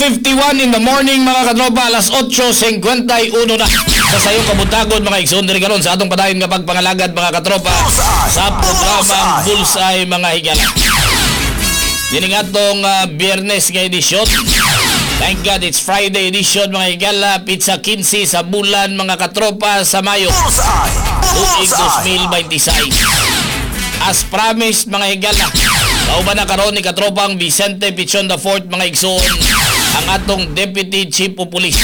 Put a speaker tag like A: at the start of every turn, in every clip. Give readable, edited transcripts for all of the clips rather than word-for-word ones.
A: 8:51 in the morning, mga katropa, alas 8:51 na. Sa sayong kabuntagon, mga igsoon, diri karon sa atong padayon nga pagpangalagad, mga katropa, sa programang Bullseye, mga higala. Dining atong Biyernes nga edisyon. Thank God it's Friday edition, mga higala, petsa 15 sa bulan, mga katropa, sa Mayo, tuig 2026. As promised, mga higala, kauban na karon ni katropang Vicente Pichon the Fourth, mga igsoon, ang atong Deputy Chief of Police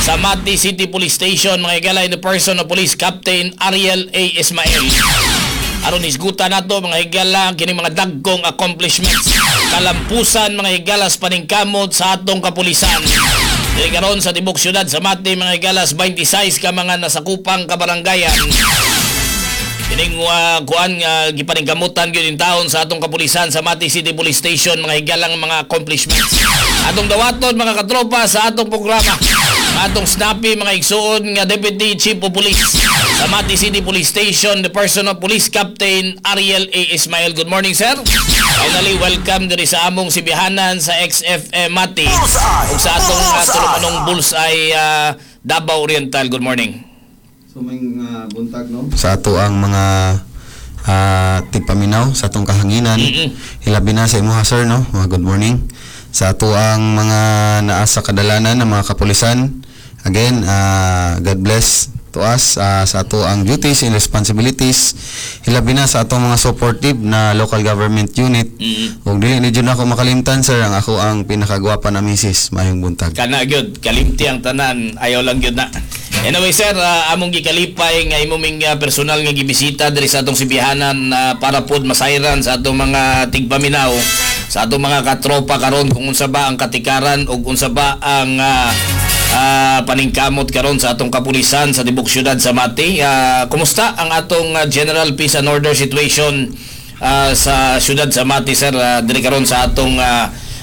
A: sa Mati City Police Station, mga higala, in the person of Police Captain Ariel A. Ismael. Aron hisgutan nato, mga higala, kining mga dagkong accomplishments, kalampusan, mga higala, sa paningkamot sa atong kapulisan. Diri karon sa tibok syudad sa Mati, mga higala, sa 26 ka mga nasakupang kabarangayan. Kining kuan nga gipaningkamutan gyud in taon sa atong kapulisan sa Mati City Police Station, mga higalang mga accomplishments. Atong dawaton, mga katropa, sa atong programa, atong snappy, mga igsuon, nga Deputy Chief of Police sa Mati City Police Station, the person of Police Captain Ariel A. Ismael. Good morning, sir. Finally, welcome diri sa among sibihanan sa XFM Mati ug sa atong tulumanong Bullseye Davao Oriental. Good morning.
B: So may buntag, no, sa ato ang mga tigpaminaw sa atong kahanginan. Hilabi na sa imuha, sir, no. Mga good morning sa ato ang mga naa sa kadalanan ng mga kapulisan. Again, God bless to us sa ato ang duties and responsibilities. Hilabi na sa atong mga supportive na local government unit. Ug dili ni jud ako makalimtan, sir, ang ako ang pinakagwapa na misis. Maayong buntag.
A: Kana gyud, kalimti ang tanan, ayaw lang gyud na. Anyway, sir, among gikalipay nga imo ming personal nga gibisita diri sa atong sibihanan para pod masayran sa atong mga tigpaminaw, sa atong mga katropa karon kung unsa ba ang katikaran ug unsa ba ang paningkamot karon sa atong kapulisan sa tibok syudad sa Mati. Kumusta ang atong general peace and order situation sa syudad sa Mati, sir, diri karon sa atong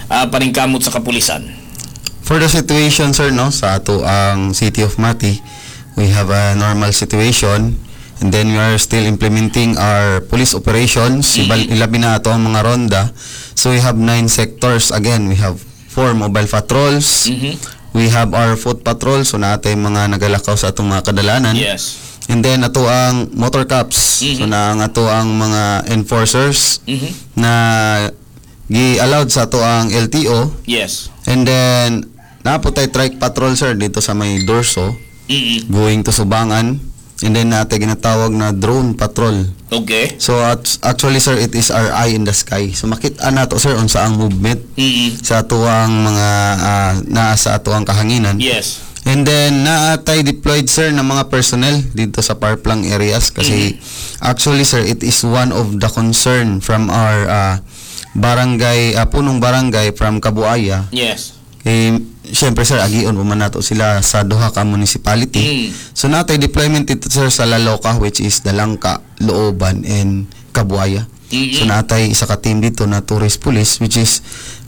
A: paningkamot sa kapulisan?
B: For the situation, sir, no, sa ato ang City of Mati, we have a normal situation and then we are still implementing our police operations. Ilabi na ato ang mga ronda. So we have nine sectors. Again, we have four mobile patrols. We have our foot patrol. So naa tay mga nagalakaw sa atong mga kadalanan. And then ato ang motor cops. So na ang ato ang mga enforcers na gi-allowed sa ato ang LTO. And then, naa po tay trike patrol, sir, dito sa may Dorso, going to Subangan. And then, naa tay ginatawag na drone patrol. So, actually, sir, it is our eye in the sky. So, makita nato, sir, unsa ang movement sa atuang mga naa sa atuang kahanginan. And then, naa tay deployed, sir, ng mga personnel dito sa far-flung areas kasi actually, sir, it is one of the concern from our barangay, punong barangay from Kabuaya. Eh, syempre, sir, agion pa man nato sila sa duha ka municipality. So naa tay deployment dito, sir, sa Laloka, which is Dalangka, Looban and Kabuaya. So naa tay isa ka team dito na tourist police which is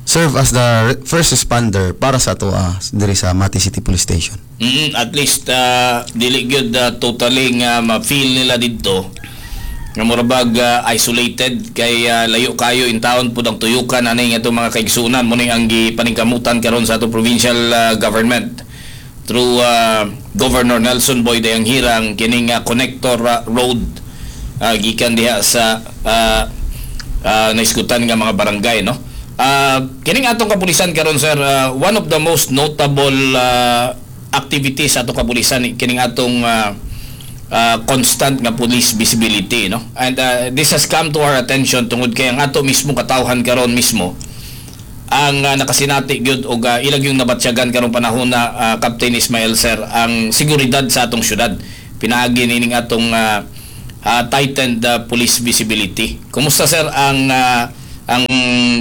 B: serve as the first responder para sa ato diri sa Mati City Police Station.
A: At least dili gyud totally nga ma-feel nila didto nga mura bag isolated kay layo kayo in town pud ang tuyukan ani nga itong mga kaigsunan mo ning ang gipaningkamutan karon sa atong provincial government through Governor Nelson Boy Dayanghirang, kining connector road gikan diha sa naiskutan nga mga barangay, no. Kining atong kapulisan karon, sir, one of the most notable activities sa atong kapulisan kining atong constant nga police visibility, no, and this has come to our attention tungod kay ang ato mismo katawhan karon mismo ang nakasinati gyud og ilang yung nabatsyagan karong panahon na, Captain Ismael, sir, ang seguridad sa atong syudad pinaagi nining atong tightened police visibility. Kumusta, sir, ang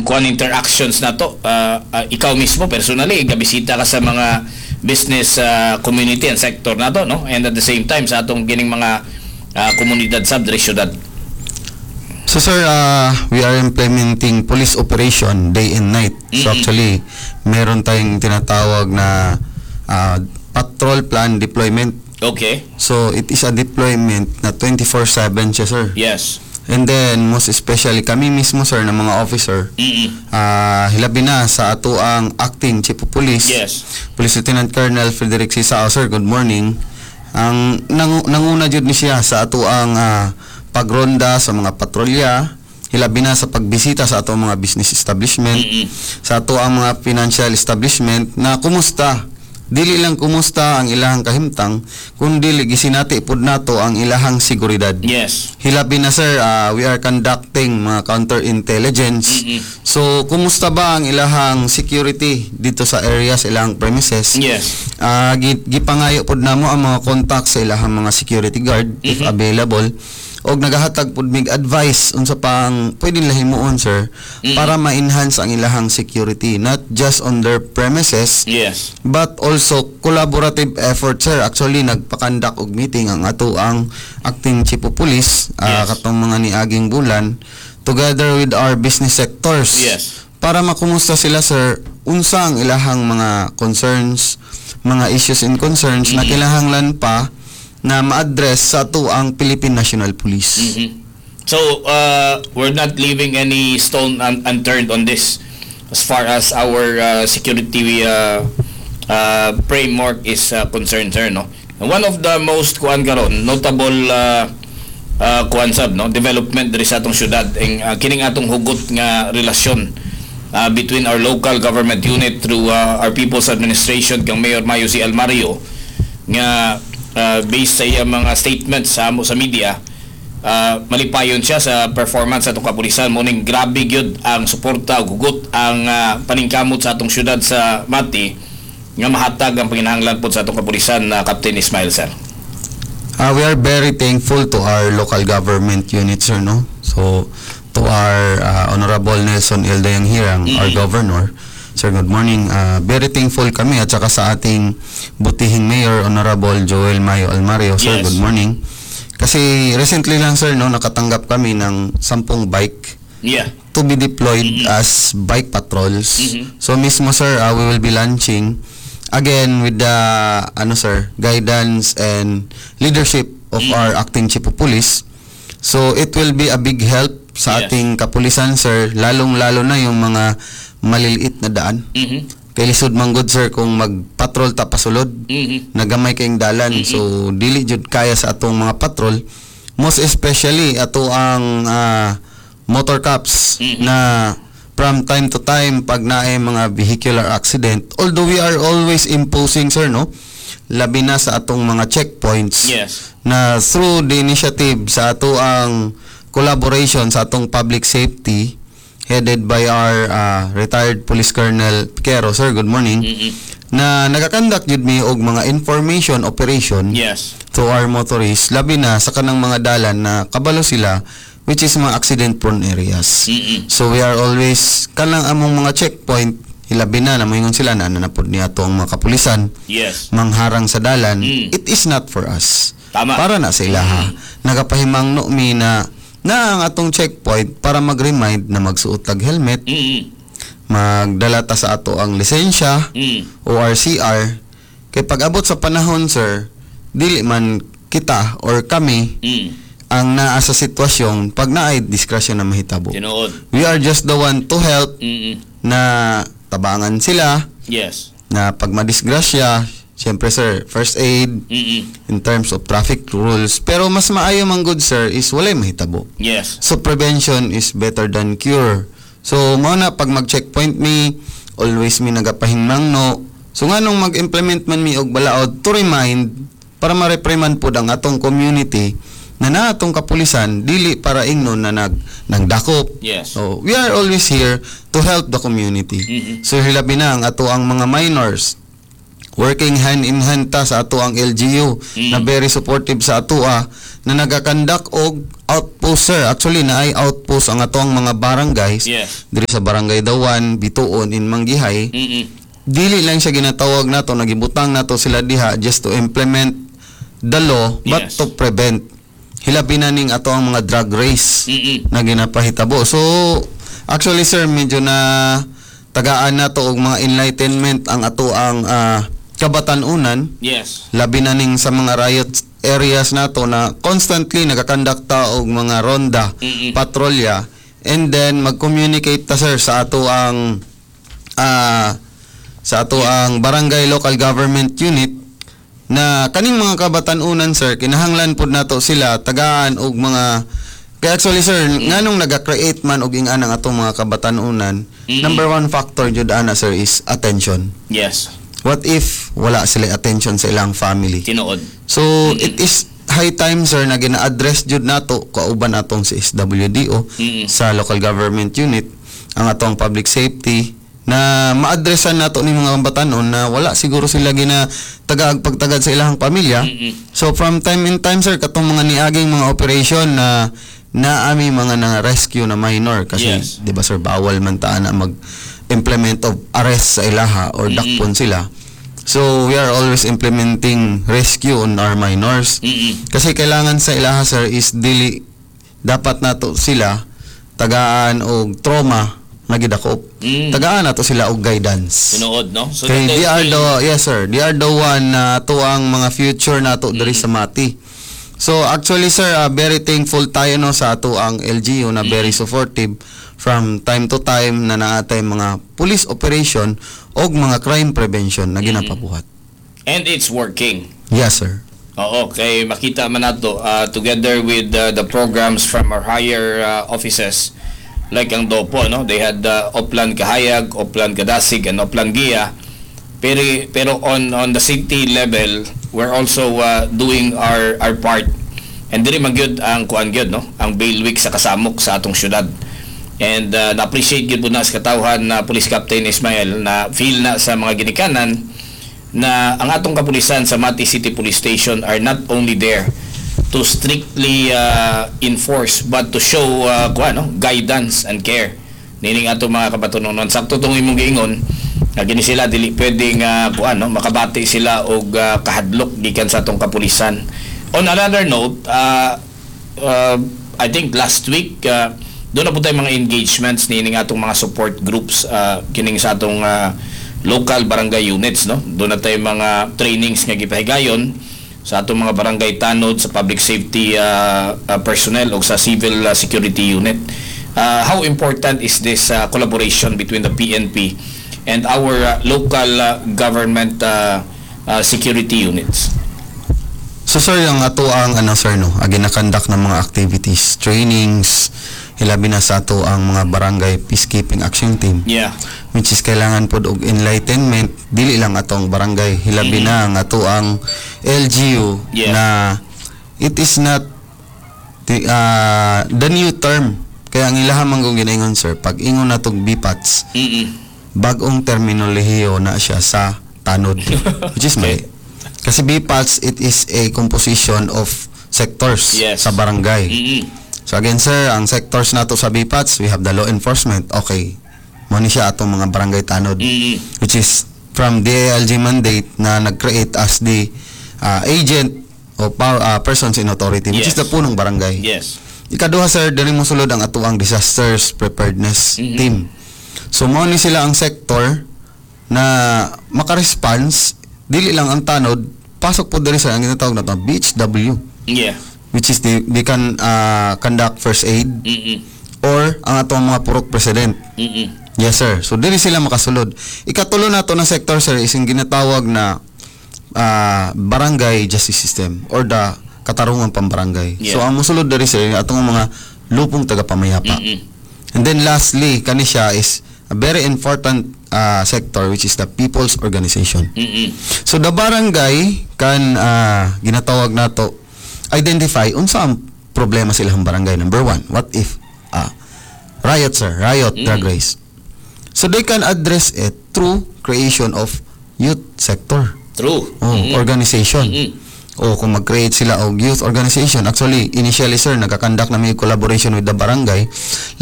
A: kuan interactions nato? Ikaw mismo personally gabisita ka sa mga business community and sector nato, no, and at the same time sa atong kining mga komunidad sa diri syudad.
B: So sir, we are implementing police operation day and night. So actually, meron tayong tinatawag na patrol plan deployment. So it is a deployment na 24/7 siya, sir. And then most especially kami mismo, sir, ng mga officer, hilabi na sa ato ang acting chief of police, Police Lieutenant Colonel Frederick C. Sao. Sir, good morning. Ang nanguna jud ni siya sa ato ang pagronda sa mga patrolya, hilabi na sa pagbisita sa ato ang mga business establishment, sa ato ang mga financial establishment na kumusta. Dili lang kumusta ang ilahang kahimtang, kundi gisinati pud nato ang ilahang seguridad. Hilabi na, sir, we are conducting mga counterintelligence. So, kumusta ba ang ilahang security dito sa area, sa ilahang premises? Gipangayo pod namo ang mga contact sa ilahang mga security guard if available. Og nagahatag pod mig advice unsa pang pwede nila himuon, sir, para ma-enhance ang ilahang security not just on their premises but also collaborative effort, sir. Actually, nagpa-conduct og meeting ang ato ang acting chief of police katong mga niaging bulan together with our business sectors para makumusta sila, sir, unsa ang ilahang mga concerns, mga issues and concerns na kinahanglan pa na ma-address sa ato ang Philippine National Police.
A: So, we're not leaving any stone unturned on this as far as our security framework is concerned, sir, no? And one of the most kuan karon, notable kuan sab, no, development diri sa atong syudad ing kining atong hugot nga relasyon between our local government unit through our People's Administration kang Mayor Mayo C. Almario nga based sa iyang mga statements sa amo sa media, malipayon siya sa performance sa atong kapulisan. Morning grabe gyud ang suporta ug hugot ang paningkamot sa atong syudad sa Mati nga mahatag ang panginahanglan pod sa atong kapulisan na Captain Ismail, sir.
B: We are very thankful to our local government unit, sir, no? So, to our Honorable Nelson L. Dayanghirang, our governor. Sir, good morning. Very thankful kami at saka sa ating butihing mayor, Honorable Joel Mayo Almario. Sir, good morning. Kasi recently lang, sir, no, nakatanggap kami ng 10 bike to be deployed as bike patrols. So mismo, sir, we will be launching again with the ano, sir, guidance and leadership of our acting chief of police. So it will be a big help sa ating kapulisan, sir, lalong-lalo na yung mga maliliit na daan. Kay lisod man gud, sir, kung magpatrol ta pasulod, nagamay kayong dalan, so dili jud kaya sa atong mga patrol, most especially ato ang motor cops na from time to time pag naay mga vehicular accident, although we are always imposing, sir, no, labi na sa atong mga checkpoints na through the initiative sa ato ang collaboration sa atong public safety headed by our retired police colonel Piquero. Sir, good morning, na nagakandak jud mi og mga information operation to our motorists, labi na sa kanang mga dalan na kabalo sila, which is mga accident prone areas. So we are always kanang among mga checkpoint, hilabi na na moingon sila na nanapod niya ato ang mga kapulisan mangharang sa dalan. It is not for us. Para na sa ilaha. Nagapahimangno mi na na ang atong checkpoint para mag-remind na magsuot tag helmet, magdala ta sa ato ang lisensya o RCR, kay pag abot sa panahon, sir, dili man kita or kami ang naa sa sitwasyon pag naay disgrasya na mahitabo. We are just the one to help na tabangan sila na pag madisgrasya, siyempre, sir, first aid in terms of traffic rules. Pero mas maayo man good, sir, is walay mahitabo. So prevention is better than cure. So mao na pag mag-checkpoint mi, always mi nagapahimangno. So nganong mag-implement man mi og balaod to remind para ma-reprimand pod ang atong community na naa atong kapulisan dili para ingnon na nagdakop. So we are always here to help the community. So hilabi na ang ato ang mga minors, working hand in hand ta sa ato ang LGU na very supportive sa ato na nagakandak og outpost, sir. Actually, naay outpost ang ato ang mga barangays diri sa Barangay Dawan, Bituon in Manggihay. Dili lang siya ginatawag nato, nagibutang nato sila diha just to implement the law but to prevent, hilabi na ning ato ang mga drug race na ginapahitabo. So actually, sir, medyo na tagaan nato og mga enlightenment ang ato ang kabatanunan, labi na ning sa mga riot areas nato na constantly nagaconduct ta og mga ronda, patrolya, and then mag-communicate ta, sir, sa ato ang barangay local government unit na kaning mga kabatanunan, sir, kinahanglan pud nato sila tagaan og mga, kaya actually, sir, nganong naga-create man og ing-ana ang atong mga kabatanunan, number one factor jud ana, sir, is attention. What if wala sila attention sa ilang family?
A: Tinuod.
B: So it is high time, sir, na gina-address jud nato kauban atong si SWDO sa local government unit, ang atong public safety, na ma-addressan nato ni mga batanon na wala siguro sila gina tagaag pagtagad sa ilang pamilya. So from time in time, sir, katong mga niaging mga operation na naami mga na rescue na minor kasi 'di ba, sir, bawal man ta na mag implement of arrest sa ilaha or dakpon sila. So we are always implementing rescue on our minors. Kasi kailangan sa ilaha, sir, is dili dapat nato sila tagaan og trauma nga gidakop. Tagaan nato sila og guidance.
A: Tinuod, no? So
B: Kay
A: that
B: they are
A: is-
B: the, yes sir, they are the one na to ang mga future nato diri sa Mati. So actually, sir, very thankful tayo, no, sa ato ang LGU na very supportive from time to time na naatay mga police operation og mga crime prevention na ginapabuhat.
A: And it's working.
B: Yes, sir.
A: Oo, kay makita man nato together with the programs from our higher offices like ang DOPO, no? They had Oplan Kahayag, Oplan Kadasig, and Oplan Gia. Pero on the city level, we're also doing our part. And diri man gyud ang kuan gyud, no? Ang bailiwick sa kasamok sa atong syudad. And na-appreciate gyud po na sa katawhan na Police Captain Ismael na feel na sa mga ginikanan na ang atong kapulisan sa Mati City Police Station are not only there to strictly enforce but to show kuan, no, guidance and care nining atong mga kabatunonon. Sakto tong imong giingon nga gini sila dili pwedeng kuan, no, makabati sila og kahadlok gikan sa atong kapulisan. On another note, I think last week doon na po tayo mga engagements nining atong mga support groups kining sa atong local barangay units, no? Doon na tayo mga trainings nga gipahigayon sa atong mga barangay tanod, sa public safety personnel o sa civil security unit. How important is this collaboration between the PNP and our local government security units?
B: So sir, yung ato ang ano, sir, no, agi na-conduct ng mga activities, trainings, hilabi na sa ato ang mga barangay peacekeeping action team, which is kailangan pod og enlightenment dili lang atong barangay, hilabi na ang ato ang LGU na it is not the new term, kaya ang ilaha man kung ginaingon, sir, pag ingon natong BPATS, bagong terminolohiyo na siya sa tanod, which is mali kasi BPATS, it is a composition of sectors sa barangay. So again, sir, ang sectors nato sa BPATS, we have the law enforcement. Okay. Mo ni siya atong mga barangay tanod, which is from DILG mandate na nag-create as the agent o power, persons in authority, which is the punong barangay. Ikaduha, sir, diri mo sulod ang atuang disasters preparedness team. So mo ni sila ang sector na maka-response dili lang ang tanod, pasok po diri sa ang ginatawag na to BHW, which is they can conduct first aid or ang atong mga purok president. Yes, sir. So dili sila makasulod. Ikatulo nato na sector, sir, is yung ginatawag na barangay justice system or the katarungan pambarangay. So ang musulod diri, sir, atong mga lupong tagapamayapa. And then lastly, kani siya is a very important sector, which is the people's organization. So the barangay can ginatawag nato identify unsa ang problema sa ilang barangay. Number one, what if riot, sir, riot, drug race. So they can address it through creation of youth sector o organization. O kung mag-create sila og youth organization, actually, initially, sir, nagka-conduct na may collaboration with the barangay.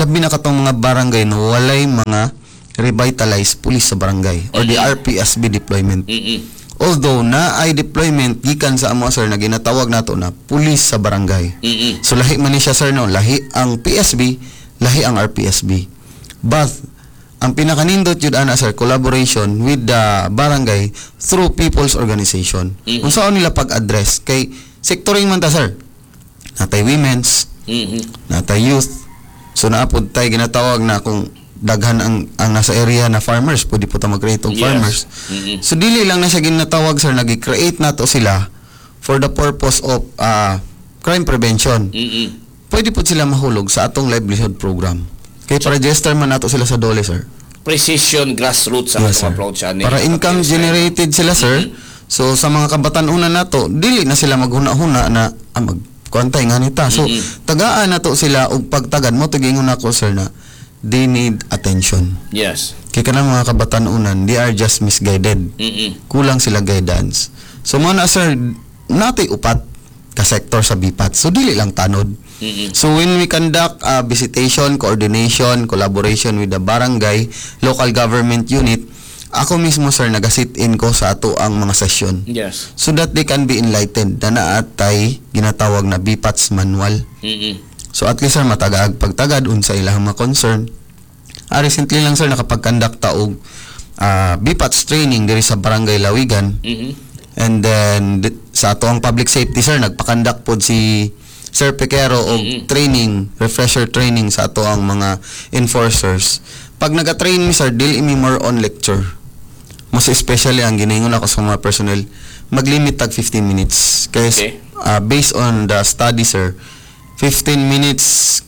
B: Labi na katong mga barangay no walay mga revitalized police sa barangay or the RPSB deployment. Although na ay deployment gikan sa amo, sir, na ginatawag nato na police sa barangay. So lahi man ni siya, sir, no, lahi ang PSB, lahi ang RPSB. But Ang pinakanindot jud ana, sir, collaboration with the barangay through people's organization. Unsaon nila pag-address kay sectoring man ta, sir. Natay women's, natay youth. So naa pod tay ginatawag na kung daghan ang nasa area na farmers, pwede po ta mag-create og farmers. So dili lang na siya ginatawag, sir, nagi-create nato sila for the purpose of crime prevention. Pwede po sila mahulog sa atong livelihood program. Kay pa-register man nato sila sa DOLE, sir.
A: Precision grassroots ang
B: Yes,
A: atong
B: sir.
A: Approach ani.
B: Para income generated sila, sir. So sa mga kabatan-unan nato, dili na sila maghuna-huna na mag kuantay nga nita. So tagaan nato sila og pagtagad mo tigingon nako, sir, na they need attention. Kay kanang mga kabatan-unan, they are just misguided. Kulang sila guidance. So mo na, sir, natay upat ka sector sa BPAT. So dili lang tanod. So when we conduct visitation, coordination, collaboration with the barangay, local government unit, ako mismo, sir, nag-sit in ko sa ato ang mga session so that they can be enlightened na naatay ginatawag na BPATS manual. So at least, sir, matagaag pagtagad unsa ilang mga concern. Recently lang, sir, nakapag-conduct ta og BPATS training diri sa Barangay Lawigan. And then sa ato ang public safety, sir, nagpa-conduct pod si Sir Pequero og training, refresher training sa ato ang mga enforcers. Pag naga-train mi, sir, dili mi more on lecture. Most especially ang ginaingon ako sa mga personnel, maglimit tag 15 minutes. Kay based on the study, sir, 15 minutes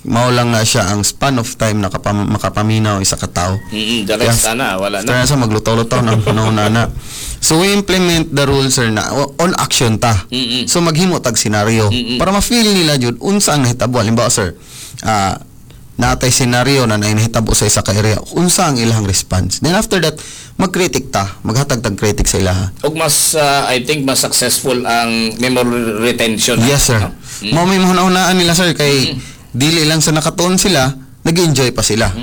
B: mao lang na siya ang span of time na makapaminaw isa ka tawo.
A: The rest ana wala na.
B: After na sa maglutaw-lutaw ng panahon na na. So we implement the rule, sir, na on action ta. So maghimo tag scenario para ma-feel nila jud unsa ang nahitabo. Halimbawa, sir, natay scenario na nahitabo sa isa ka area, unsa ang ilang response. Then after that, mag-critic ta, maghatag tag critic sa ilaha.
A: Og mas I think mas successful ang memory retention.
B: Yes, sir.
A: No?
B: Mao may mahuna-hunaan nila, sir, kay dili lang sa nakatuon sila, nag-enjoy pa sila.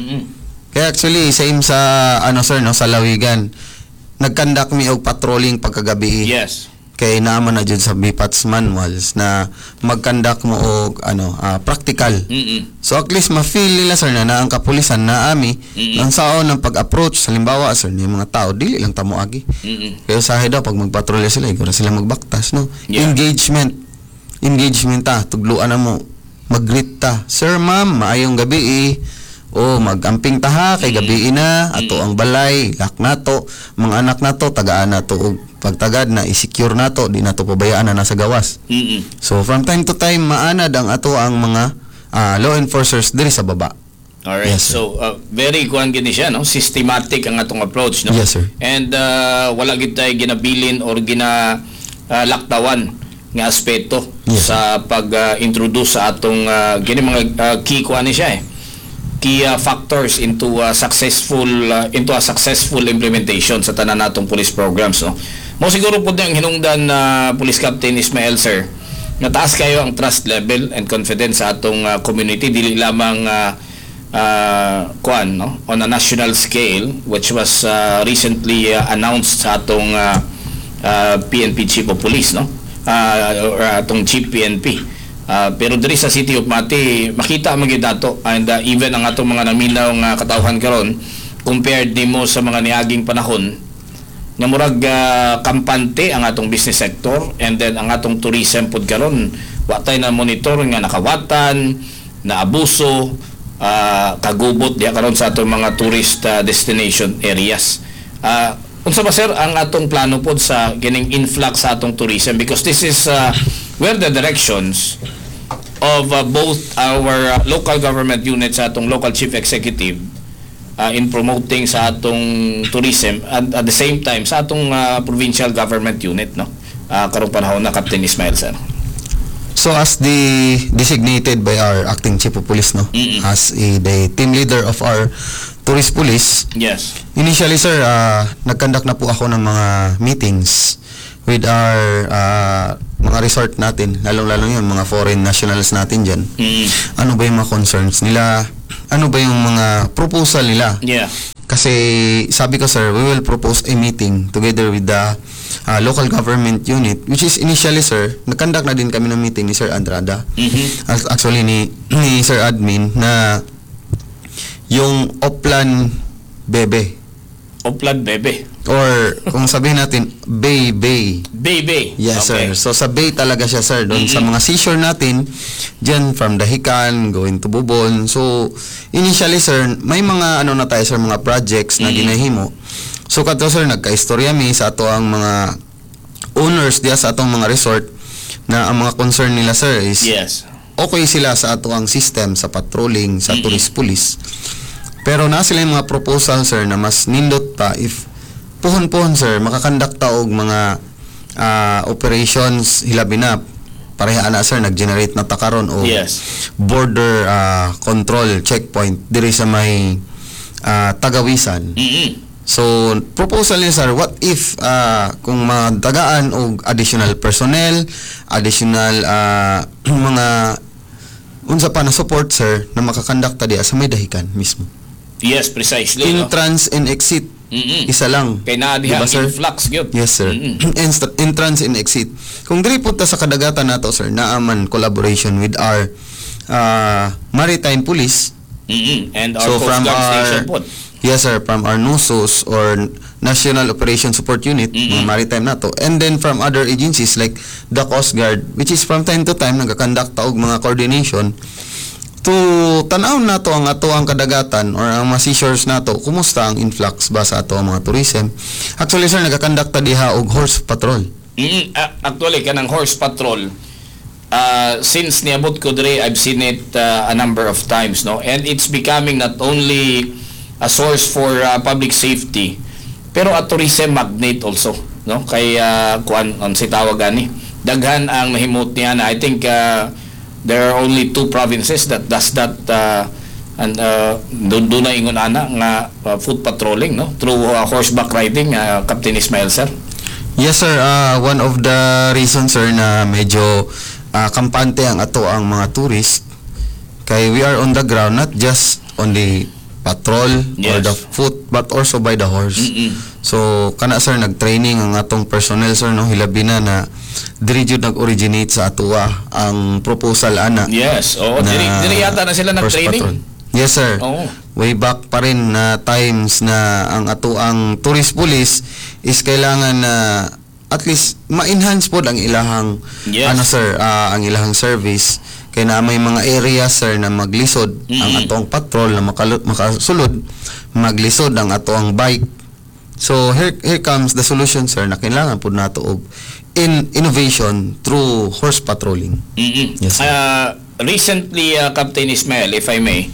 B: Kaya actually same sa ano, sir, no, sa Lawigan. Nag-conduct mi og patrolling pagkagabi. Kay naman na jud sa BPATS manuals na mag-conduct mo og ano practical. So at least ma-feel nila, sir, na ang kapulisan na ami ang saon ng pag-approach. Halimbawa, sir, ni mga tao dili lang ta moagi. Kaya usahay daw pag magpatrolya sila, ikaw na sila magbaktas, no? Engagement. Engagement ta, tugluan na mo. Mag-greet ta. "Sir, ma'am, maayong gabi eh." O mag-amping ta ha, kay gabi na, ato ang balay, lock nato, mga anak nato, tagaan nato og pagtagad na i-secure nato, di nato pabayaan na nasa gawas. So from time to time maanad ang ato ang mga law enforcers diri sa baba.
A: Alright.
B: Yes, sir.
A: So very kuan gini siya, no? Systematic ang atong approach, no?
B: Yes, sir.
A: And wala gid tay ginabilin or gina laktawan nga aspeto sa pag-introduce sa atong gini mga key kuan ni siya eh. Key factors into a successful implementation sa tanan natong police programs, no? Mo siguro po ang hinungdan na Police Captain Ismael, sir, nga taas kayo ang trust level and confidence sa atong community, dili lamang kuan, no, on a national scale, which was recently announced sa atong PNP Chief of Police, no, or atong Chief PNP. Pero diri sa City of Mati makita man gyud nato and even ang atong mga naminaw nga katawhan karon compared nimo sa mga niaging panahon nga murag kampante ang atong business sector and then ang atong tourism pod karon wa tay na monitor nga nakawatan na abuso, kagubot diha karon sa atong mga tourist destination areas. Unsa ba, sir, ang atong plano pod sa kining influx sa atong tourism, because this is where the directions of both our local government units sa atong local chief executive in promoting sa atong tourism and at the same time sa atong provincial government unit, no, karong panahon na, Captain Ismail, sir?
B: So as the designated by our acting chief of police, no, as the team leader of our tourist police, initially, sir, nag-conduct na po ako ng mga meetings with our mga resort natin, lalong-lalo yun, mga foreign nationals natin dyan. Ano ba yung mga concerns nila? Ano ba yung mga proposal nila? Kasi sabi ko, sir, we will propose a meeting together with the local government unit, which is initially, sir, nag-conduct na din kami ng meeting ni Sir Andrada. Actually ni Sir Admin na yung off-plan Bebe.
A: Oplan Bebe.
B: Or kung sabihin natin, Bay Bay.
A: Bay.
B: Yes, sir. So sa bay talaga siya, sir. Doon sa mga seashore natin, dyan from Dahican, going to Bobon. So, initially, sir, may mga ano na tayo, sir, mga projects na ginahimo. So, kadto, sir, nagka-istorya mi sa ato ang mga owners diya sa atong mga resort na ang mga concern nila, sir, is okay sila sa ato ang system sa patrolling sa tourist police. Pero na sila yung mga proposal, sir, na mas nindot pa if puhon-puhon, sir, maka-conduct ta og mga operations, hilabi na pareha ana, sir, nag-generate na ta karon og border control checkpoint diri sa may Tagawisan. So, proposal niya, sir, what if kung madagaan og additional personnel, additional mga unsa pa na support, sir, na maka-conduct ta diya sa may Dahican mismo.
A: Yes, precisely, no?
B: Entrance and exit, isa lang.
A: Kay naa diha
B: Diba, sir?
A: Influx gyud.
B: Yes, sir. Entrance and exit. Kung diri po ta sa kadagatan nato, sir, naa man collaboration with our maritime police.
A: And our
B: So
A: Coast
B: from
A: Guard
B: our
A: station po.
B: Yes, sir, from our NUSOS or National Operation Support Unit, mga maritime nato, and then from other agencies like the Coast Guard, which is from time to time nagka-conduct ta og mga coordination to tan-aw nato ang ato ang kadagatan or ang mga seashores nato, kumusta ang influx ba sa ato ang mga tourism. Actually, sir, nagka-conduct ta diha og horse patrol.
A: Actually, kanang horse patrol, since niabot ko diri, I've seen it a number of times, no? And it's becoming not only a source for public safety, pero a tourism magnet also, no? Kay kuan ang si tawag ani. Daghan ang nahimot niya na I think there are only two provinces that does that and doon na ingon ana nga foot patrolling, no, through horseback riding, Captain Ismail, sir.
B: Yes, sir, one of the reasons, sir, na medyo kampante ang ato ang mga tourist kay we are on the ground, not just on the patrol or the foot but also by the horse. So kana, sir, nag-training ang atong personnel, sir, no, hilabi na na diri jud nag-originate sa atoa ang proposal ana.
A: Yes, oo, diri yata na sila
B: horse
A: nag-training.
B: patrol. Yes, sir. Way back pa rin na times na ang ato ang tourist police is kailangan na at least ma-enhance pod ang ilahang ano, sir, ang ilahang service kay na may mga areas, sir, na maglisod ang atong patrol na makasulod, maglisod ang ato ang bike. So here comes the solution, sir, na kailangan pod nato og in innovation through horse patrolling. Yes, sir.
A: Recently, Captain Ismail, if I may,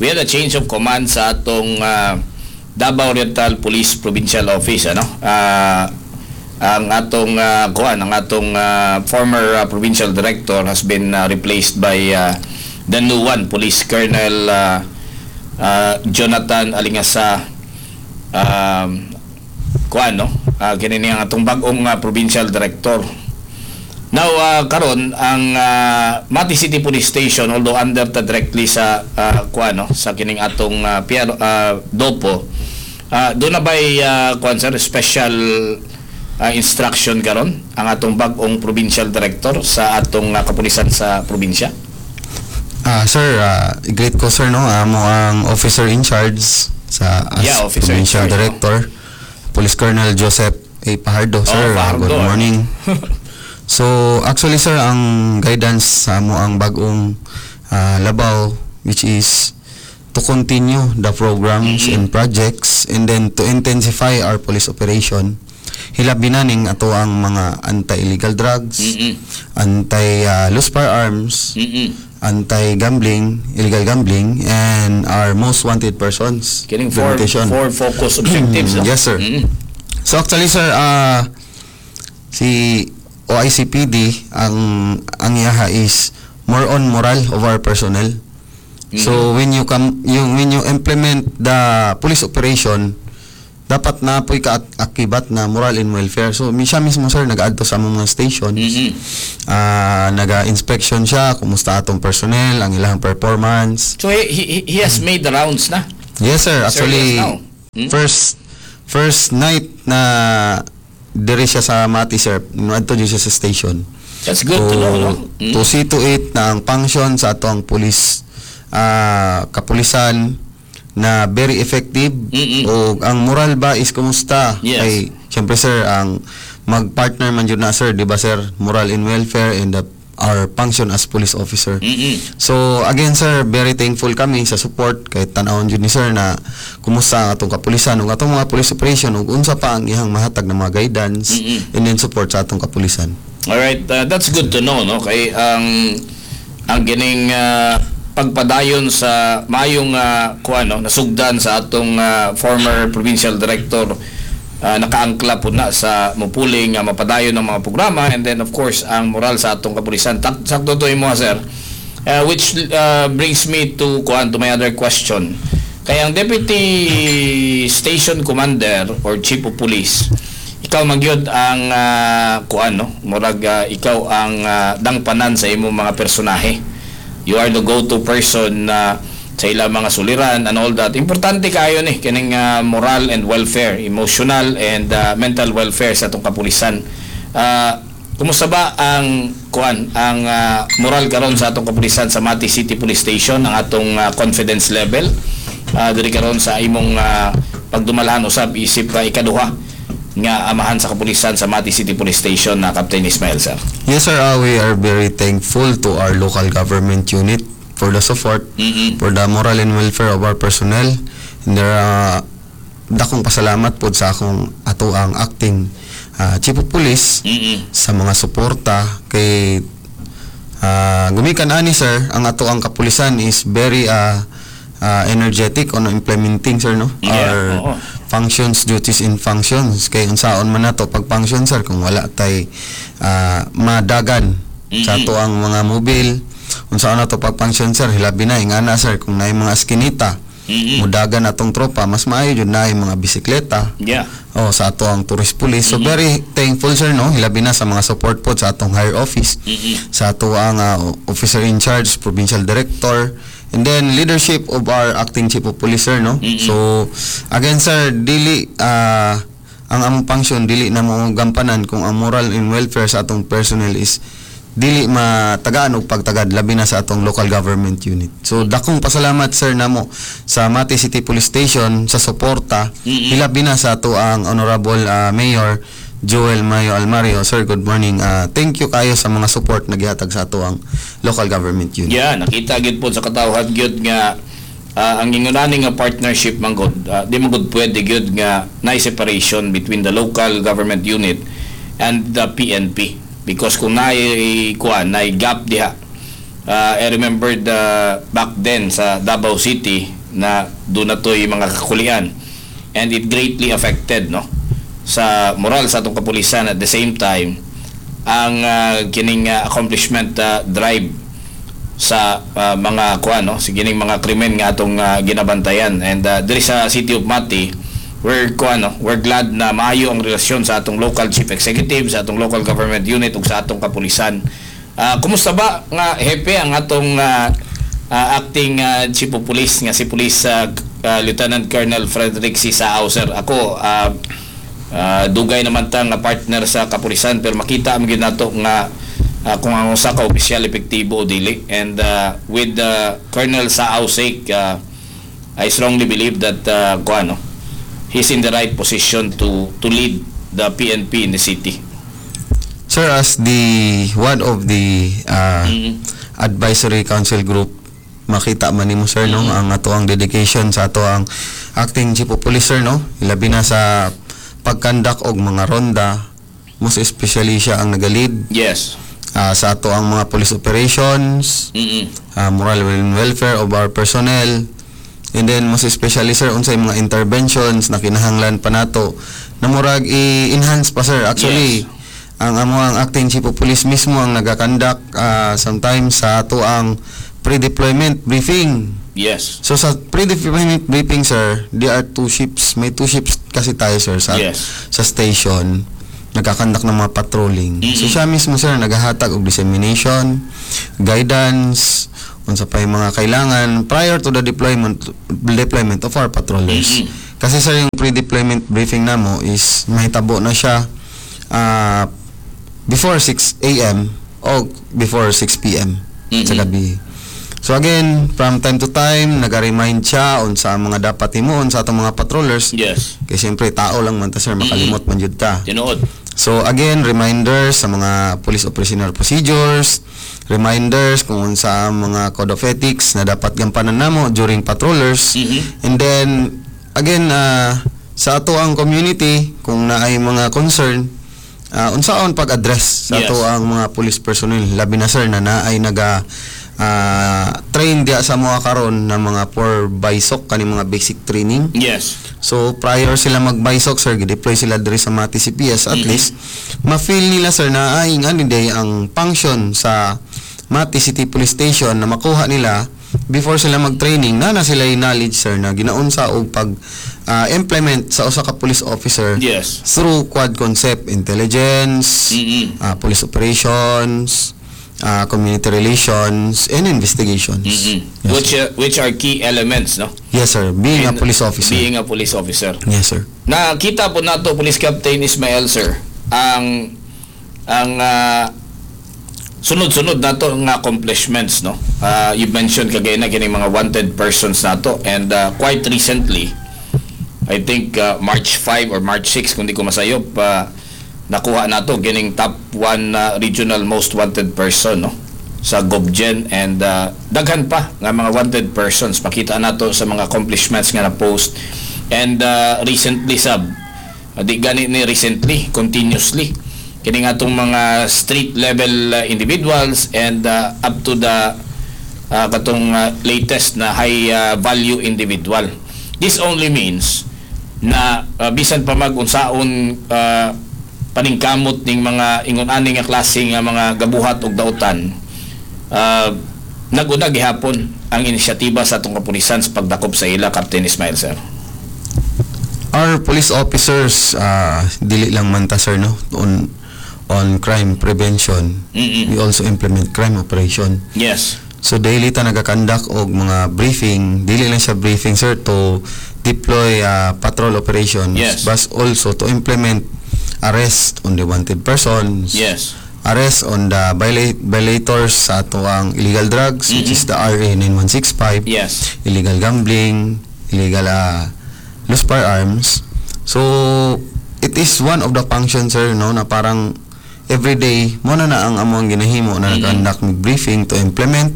A: we had a change of command sa atong Davao Oriental Police Provincial Office, ano? Ang atong kuan, ang atong former provincial director has been replaced by the new one, Police Colonel Jonathan Alingasa, kuan, no? Kini niya ang atong bag-ong provincial director. Now, karon ang Mati City Police Station, although under ta directly sa kuan, no, sa kining atong Dopo, doon na ba'y kuan, sir, special instruction karon ang atong bag-ong provincial director sa atong kapulisan sa probinsya?
B: Ah, sir, great ko, sir, no. Amo ang officer in charge sa as
A: Yeah, officer in
B: provincial
A: charge, no?
B: director, Police Colonel Joseph A. Pajardo, sir.
A: Fajardo,
B: good
A: eh.
B: morning. So, actually, sir, ang guidance sa amo ang bagong labaw, which is to continue the programs and projects and then to intensify our police operation. Hilabi na ning ato ang mga anti-illegal drugs, anti-loose firearms, anti-gambling, illegal gambling, and our most wanted persons
A: Kining four,
B: implementation.
A: Four focus objectives, no?
B: Yes, sir. So actually, sir, si OICPD, ang iyaha is more on moral of our personnel. So when you come yung when you implement the police operation, dapat na po'y kaakibat na moral and welfare. So siya mismo, sir, nag-adto sa mga stations. Naga-inspection siya kumusta atong personnel, ang ilang performance.
A: So he has made the rounds na.
B: Yes, sir.
A: Sir,
B: Actually,
A: yes, now.
B: First night na diri siya sa Mati, sir, adto jud siya sa station.
A: That's good to know, no?
B: To see to it na ang function sa atong police kapulisan na very effective o ang moral ba is kumusta? Kay syempre, sir, ang mag-partner man jud na, sir, di ba, sir, moral and welfare and our function as police officer. So again, sir, very thankful kami sa support kay tan-awon jud ni sir na kumusta ang atong kapulisan ug atong mga police operation ug unsa pa ang iyang mahatag na mga guidance and then support sa atong kapulisan.
A: Alright, that's good to know, no? Kay ang kining pagpadayon sa maayong kuan, no, nasugdan sa atong former provincial director, nakaangkla po na sa mupuling nga mapadayon ng mga programa and then of course ang moral sa atong kapulisan. Sakto to imo, sir. Which brings me to kuan, to my other question. Kaya ang deputy station commander or chief of police, ikaw magyud ang kuan, no, murag ikaw ang dangpanan sa imong mga personahe. You are the go-to person na sa ilang mga suliran and all that. Importante kayo ni kining moral and welfare, emotional and mental welfare sa atong kapulisan. Kumusta ba ang kuan, ang moral karon sa atong kapulisan sa Mati City Police Station, ang atong confidence level diri karon sa imong pagdumalahan usab isip ikaduha nga amahan sa kapulisan sa Mati City Police Station na Captain Ismael, sir?
B: Yes, sir, we are very thankful to our local government unit for the support, for the moral and welfare of our personnel. And there, dakong pasalamat po sa akong ato ang acting chief of police sa mga suporta kay gumikan ani, sir, ang ato ang kapulisan is very energetic on implementing, sir, no, our functions, duties and functions, kay unsaon man nato pag function, sir, kung wala tay madagan sa ato ang mga mobile? Unsaon nato pag function, sir, hilabi na ingana, sir, kung naay mga eskinita, mudagan atong tropa? Mas maayo jud naay mga bisikleta oh, sa ato ang tourist police. So very thankful, sir, no, hilabi na sa mga support po sa atong higher office, sa ato ang officer in charge, provincial director, and then leadership of our acting chief of police, sir, no. So again, sir, dili ang among function dili na mo gampanan kung ang moral and welfare sa atong personnel is dili matagaan og pagtagad, labi na sa atong local government unit. So dakong pasalamat, sir, namo sa Mati City Police Station sa suporta, hilabi na sa ato ang Honorable Mayor Joel Mayo Almario. Sir, good morning. Thank you kayo sa mga support na gihatag sa ato ang local government unit.
A: Yeah, nakita gyud po sa katawhan gyud nga ang ingonani nga partnership man gud, di man gud pwede gyud nga naay separation between the local government unit and the PNP because kung naay kuan, naay gap diha. I remember the back then sa Davao City na doon na to'y mga kakulian and it greatly affected, no, sa moral sa atong kapulisan, at the same time ang kining accomplishment drive sa mga kuan, no, sa kining mga krimen nga atong ginabantayan. And diri sa City of Mati, we're kuan, no, we're glad na maayo ang relasyon sa atong local chief executive, sa atong local government unit ug sa atong kapulisan. Kumusta ba nga hepe ang atong acting chief of police nga si Police Lieutenant Colonel Frederick C. Sao, sir? Ako dugay naman ta nga partner sa kapulisan, pero makita man gyud nato nga kung ang usa ka opisyal epektibo o dili. And with Colonel Sao sake, I strongly believe that kuan, no, he's in the right position to lead the PNP in the city.
B: Sir, as the one of the advisory council group, makita man nimo, sir, no, ang ato ang dedication sa ato ang acting chief of police, sir, no, ilabi na sa pag-conduct og mga ronda, most especially siya ang naga-lead sa ato ang mga police operations, moral and welfare of our personnel, and then most especially, sir, unsay mga interventions na kinahanglan pa nato na murag i-enhance pa, sir. Actually, ang amo ang acting chief of police mismo ang nagakandak sometimes sa ato ang pre-deployment briefing. So sa pre-deployment briefing, sir, there are two ships. May two ships kasi tayo, sir, sa sa station nagkakandak ng mga patrolling. So siya mismo, sir, naghahatag og dissemination, guidance, unsa pa yung mga kailangan prior to the deployment of our patrollers. Kasi, sir, yung pre-deployment briefing namo is mahitabo na siya before 6 a.m. o before 6 p.m. sa gabi. So again, from time to time, naga-remind siya on sa mga dapat himuon sa atong mga patrollers. Kay siyempre tao lang man ta, sir, makalimot man jud ta.
A: Tinuod.
B: So again, reminders sa mga police operational procedures, reminders kung unsa ang mga code of ethics na dapat gampanan namo during patrollers. And then again, sa ato ang community, kung naay mga concern, unsaon pag-address sa ato ang mga police personnel, labi na, sir, na naay naga train diya sa mga karon na mga for BISOC, kani mga basic training. So prior sila mag-BISOC, sir, gi-deploy sila diri sa Mati CPS, at least ma-feel nila, sir, na ay ngani day ang function sa Mati City Police Station na makuha nila before sila mag-training na na sila yung knowledge, sir, na ginaunsa og pag implement sa usa ka police officer through quad concept: intelligence, police operations, community relations and investigations. Yes.
A: Which are key elements, no?
B: Yes, sir, being a
A: In
B: police officer.
A: Being a police officer.
B: Yes, sir.
A: Nakita po nato, Police Captain Ismael, sir, ang sunod-sunod nato nga accomplishments, no? You mentioned kagaya na kining mga wanted persons nato and quite recently, I think March 5 or March 6 kung di ko masayop, nakuha nato kining top 1 regional most wanted person, no? Sa Gobgen and daghan pa nga mga wanted persons, makita nato sa mga accomplishments nga na post and recently sab, di gani ni recently, continuously kini nga atong mga street level individuals and up to the katong latest na high value individual. This only means na bisan pa mag unsaon paningkamot ning mga ingon ani nga klase nga mga gabuhat og dautan, naguna gihapon ang inisyatiba sa atong kapulisan sa pagdakop sa ila, Captain Ismail, sir.
B: Our police officers, dili lang man ta, sir, no, on crime prevention. We also implement crime operation. So daily ta nagakandak og mga briefing, dili lang siya briefing, sir, to deploy patrol operations, but also to implement arrest on the wanted persons. Arrest on the violators sa ato ang illegal drugs, which is the RA 9165, illegal gambling, illegal loose firearms. So it is one of the functions, sir, no, na parang every day mo na na ang among ginahimo na nag-conduct mig briefing to implement.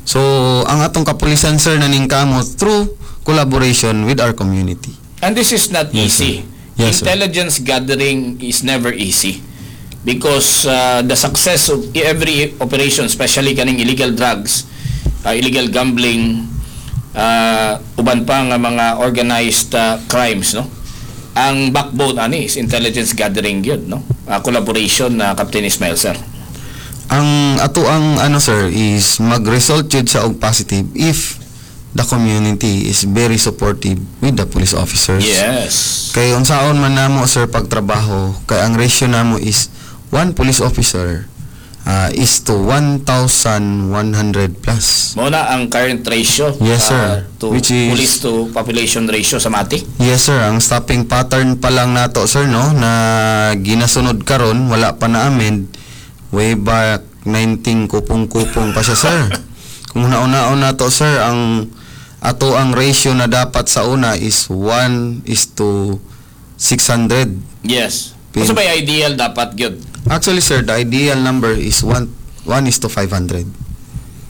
B: So ang atong kapulisan, sir, naningkamot through collaboration with our community.
A: And this is not
B: Yes,
A: easy.
B: Sir. Yes, sir.
A: Intelligence gathering is never easy because the success of every operation, especially kaning illegal drugs, illegal gambling, uban pa nga mga organized crimes, no? Ang backbone ani is intelligence gathering yun, no? Collaboration na, Captain Ismail, sir.
B: Ang ato ang ano, sir, is mag-result jud sa og positive if the community is very supportive with the police officers. Kay unsaon man namo, sir, pagtrabaho, kay ang ratio namo is one police officer is to 1,100 plus.
A: Mao na ang current ratio
B: Yes, sir.
A: To police to population ratio sa Mati.
B: Yes, sir, ang stopping pattern pa lang nato, sir, no, na ginasunod karon, wala pa na amend, way back 19 kupong-kupong pa siya, sir. Kung nauna-una nato, sir, ang ato ang ratio na dapat sa una is 1 is to 600.
A: Unsa ba ideal dapat gyud?
B: Actually, sir, the ideal number is 1 is to 500.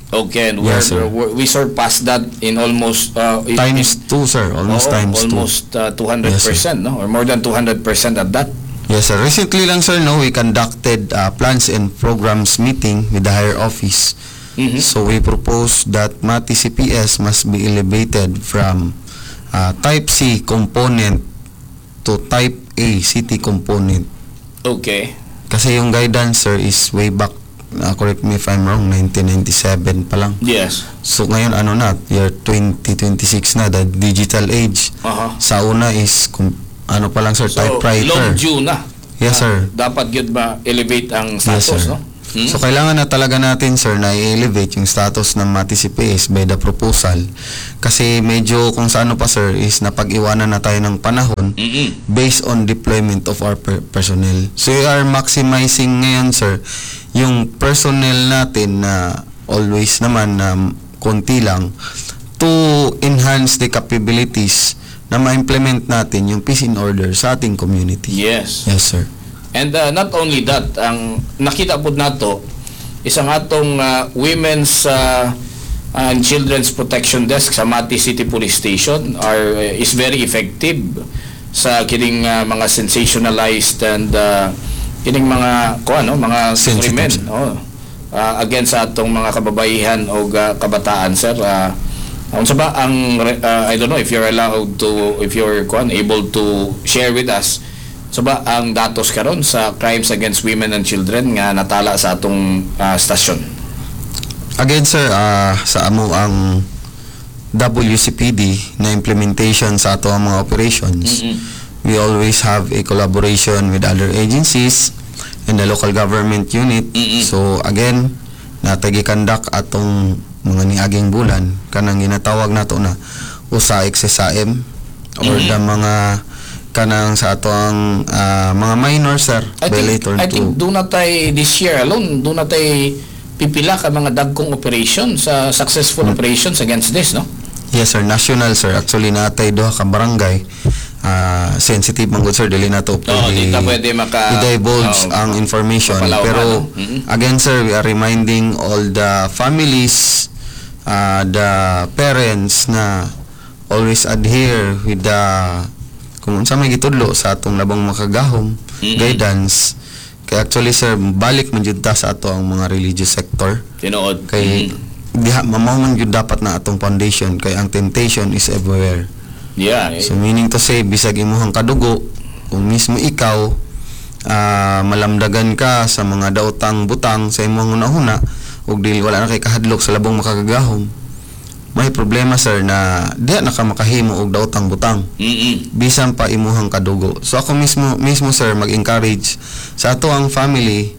A: Okay, and
B: Yes, sir.
A: We surpassed that in almost
B: Times 2, sir. Almost
A: oo,
B: times 2.
A: almost 200%,
B: Yes, sir.
A: No? Or more than 200% at that.
B: Yes, sir. Recently lang, sir, no, we conducted plans and programs meeting with the higher office. So we propose that Mati CPS must be elevated from Type C component to Type A city component. Kasi yung guidance, sir, is way back, correct me if I'm wrong, 1997 pa lang. So ngayon ano na, year 2026 na, the digital age. Sa una is, kung, ano pa lang, sir,
A: So,
B: typewriter.
A: Long due na.
B: Yes, sir.
A: Dapat gyud ba elevate ang
B: Yes,
A: status,
B: sir.
A: no? Hmm?
B: So kailangan na talaga natin, sir, na i-elevate yung status ng Mati CPS by the proposal. Kasi medyo kung sa ano pa, sir, is napag-iwanan na tayo ng panahon based on deployment of our personnel. So we are maximizing ngayon, sir, yung personnel natin na always naman na konti lang to enhance the capabilities na ma-implement natin yung peace and order sa ating community. Yes, sir.
A: And not only that, ang nakita po nato isang atong Women's and Children's Protection Desk sa Mati City Police Station are is very effective sa kining mga sensationalized and kining mga ko ano mga
B: Sensitive.
A: Krimen, oh, against sa atong mga kababaihan o kabataan, sir. Unsa ba ang I don't know if you're allowed to, if you're kuan able to share with us, so ba ang datos karon sa crimes against women and children nga natala sa atong stasyon?
B: Again, sir, sa amo ang WCPD na implementation sa ato ang mga operations, we always have a collaboration with other agencies and the local government unit. So again, natagi conduct atong mga niaging bulan kanang ginatawag nato na USA XSAM or the mga kanang sa ato ang mga minor, sir,
A: I think
B: violator
A: I think
B: to
A: duna tay this year alone, duna tay pipila ka mga dagkong operation sa successful operations against this, no?
B: Yes, sir, national, sir. Actually, natay duha ka barangay. Sensitive man gud, sir, dili na to
A: Oo, di ta pwede
B: i-divulge ang information.
A: mapalaw
B: Pero
A: ano?
B: Again, sir, we are reminding all the families, the parents na always adhere with the kung unsa may gitudlo sa atong Labong Makagahom guidance. Kay actually, sir, balik man jud ta sa ato ang mga religious sector
A: Tinuod.
B: kay diha mao man jud dapat na atong foundation, kay ang temptation is everywhere. So meaning to say, bisag imuhang kadugo, kung mismo ikaw malamdagan ka sa mga daotang butang sa imong hunahuna ug dili wala na kay kahadlok sa Labong Makagagahom, may problema, sir, na diha na ka makahimo og daotang butang bisan pa imuhang kadugo. So ako mismo mismo, sir, mag-encourage sa ato ang family,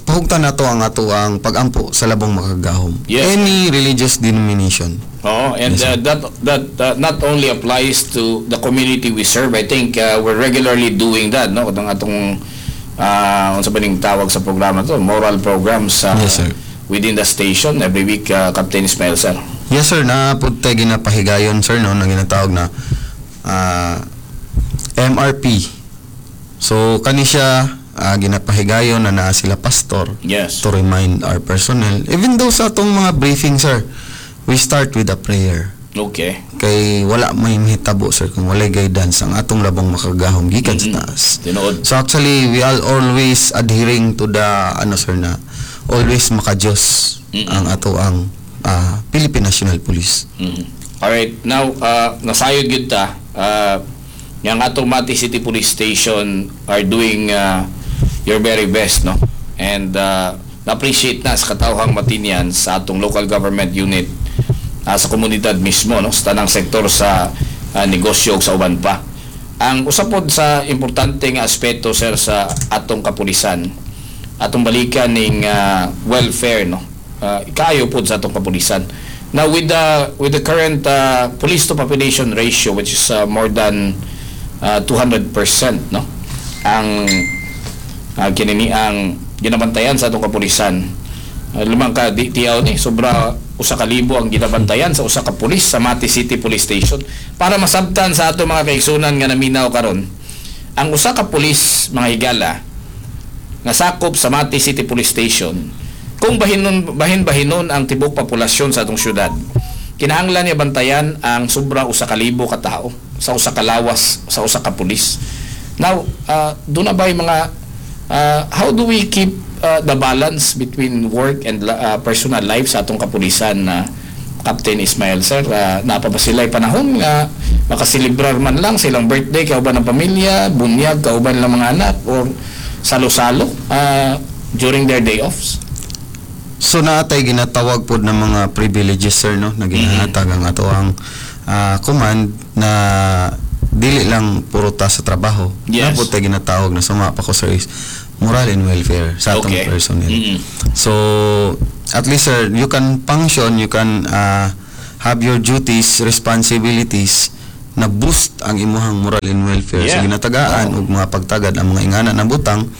B: pahugtan nato ang ato ang pagampo sa Labong Makagagahom. Any religious denomination.
A: Oo, and
B: Yes, sir.
A: that not only applies to the community we serve. I think we're regularly doing that, no? Katong atong unsa ba ning tawag sa programa to? Moral programs
B: Yes, sir.
A: Within the station every week, Captain Ismael, sir.
B: Yes, sir, na pud tay ginapahigayon, sir, no, na ginatawag na MRP. So kani siya ginapahigayon na naa sila pastor to remind our personnel. Even though sa atong mga briefing, sir, we start with a prayer. Kay wala may mahitabo, sir, kung walay guidance ang atong Labong Makagahom gikan sa taas.
A: Tinuod.
B: So actually, we are always adhering to the ano, sir, na always maka-Diyos ang ato ang Philippine National Police.
A: Alright, now nasayod gyud ta yang atong Mati City Police Station are doing your very best, no? And na-appreciate na sa katawhang Matinian, sa atong local government unit, sa komunidad mismo, no, sa tanang sektor sa negosyo ug sa uban pa. Ang usa pod sa importante nga aspeto, sir, sa atong kapulisan, atong balikan ning welfare, no, kaayo pod sa atong kapulisan. Now with the current police to population ratio, which is more than 200%, no, ang kinini ang ginabantayan sa atong kapulisan, limang ka di tiyaw ni sobra 1,000 ang ginabantayan sa usa ka pulis sa Mati City Police Station. Para masabtan sa ato mga kaigsunan nga naminaw karon, ang usa ka pulis, mga higala, nga sakop sa Mati City Police Station, kung bahinon bahin bahinon ang tibok populasyon sa atong syudad, kinahanglan niya bantayan ang sobra 1,000 ka tao sa usa ka lawas, sa usa ka pulis. Now duna ba yung mga how do we keep the balance between work and personal life sa atong kapulisan na Captain Ismael, sir? Naa pa ba sila panahon nga makaselebrar man lang silang birthday kauban ng pamilya, bunyag kauban lang mga anak, or salo-salo during their day offs?
B: So naatay ginatawag pod ng mga privileges, sir, no, na ginahatag ang ato ang command na dili lang puro ta sa trabaho. Naa pod tay ginatawag na suma pa ko, sir, is moral and welfare sa atong personnel. So at least, sir, you can function, you can have your duties, responsibilities na boost ang imuhang moral and welfare sa ginatagaan ug mga pagtagad ang mga ingana na butang.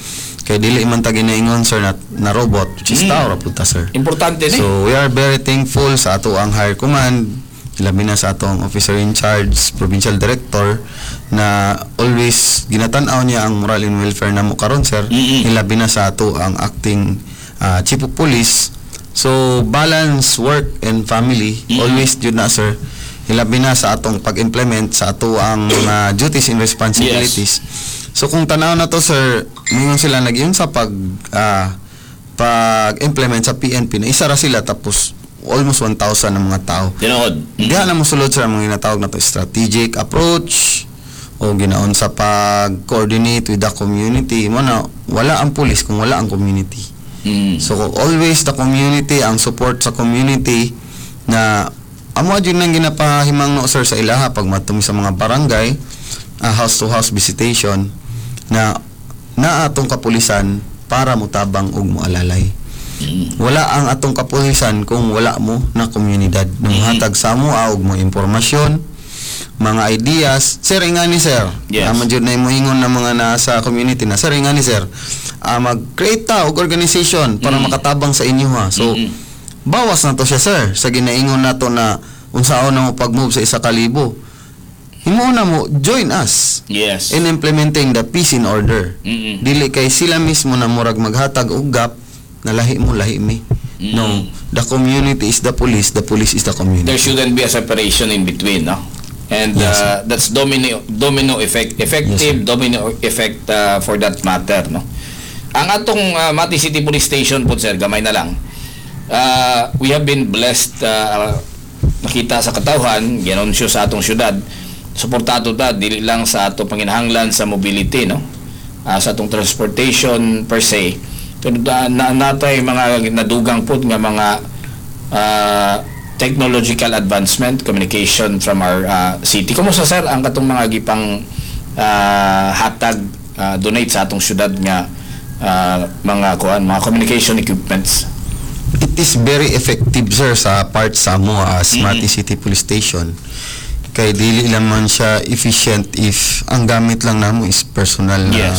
B: Kay dili man ta ginaingon, sir, na robot, which is tao ra pud ta, sir.
A: Importante ni.
B: So we are very thankful sa ato ang higher command, labi na sa atong officer in charge, provincial director, na always ginatan-aw niya ang moral and welfare namo karon, sir. Ilabi na sa ato ang acting chief of police. So balance work and family always jud na, sir. Ilabi na sa atong pag-implement sa ato ang mga duties and responsibilities. So kung tanaw na to, sir, mingon sila nag sa pag-implement sa PNP na isa ra sila tapos almost 1,000 ang mga tao.
A: Tinuod.
B: Diha na mosulod, sir, ang mga ginatawag na to strategic approach o ginaon sa pag-coordinate with the community. Mo na wala ang police kung wala ang community. So always the community, ang support sa community na amo jud nang ginapahimangno, sir, sa ilaha pag matumi sa mga barangay, house to house visitation na naa atong kapulisan para motabang ug moalalay. Wala ang atong kapulisan kung wala mo na komunidad na mohatag sa amo og mga impormasyon, mga ideas. Sir, ingani, sir. Amo jud na ingon ng mga nasa community na, "Sir, ingani, sir. Mag-create ta og organization para makatabang sa inyo ha." So bawas na to siya, sir, sa ginaingon nato na unsaon na mo pag-move sa 1,000. Himo na mo join us in implementing the peace and order. Dili kay sila mismo na murag maghatag og gap na lahi mo, lahi mi. No, the community is the police is the community.
A: There shouldn't be a separation in between, no? And
B: Yes,
A: that's domino effect, effective
B: Yes, sir.
A: Domino effect for that matter, no? Ang atong Mati City Police Station po, sir, gamay na lang. We have been blessed, nakita sa katawhan, ginansyo sa atong syudad. Suportado ta dili lang sa ato panginahanglan sa mobility, no? Sa atong transportation per se. Pero na natay mga nadugang pud nga mga technological advancement, communication from our city. Kumusta, sir, ang katong mga gipang hatag, donate sa atong syudad nga mga kuan, mga communication equipments?
B: It is very effective, sir, sa part sa amo as Mati City Police Station. Kay dili naman siya efficient if ang gamit lang namo is personal na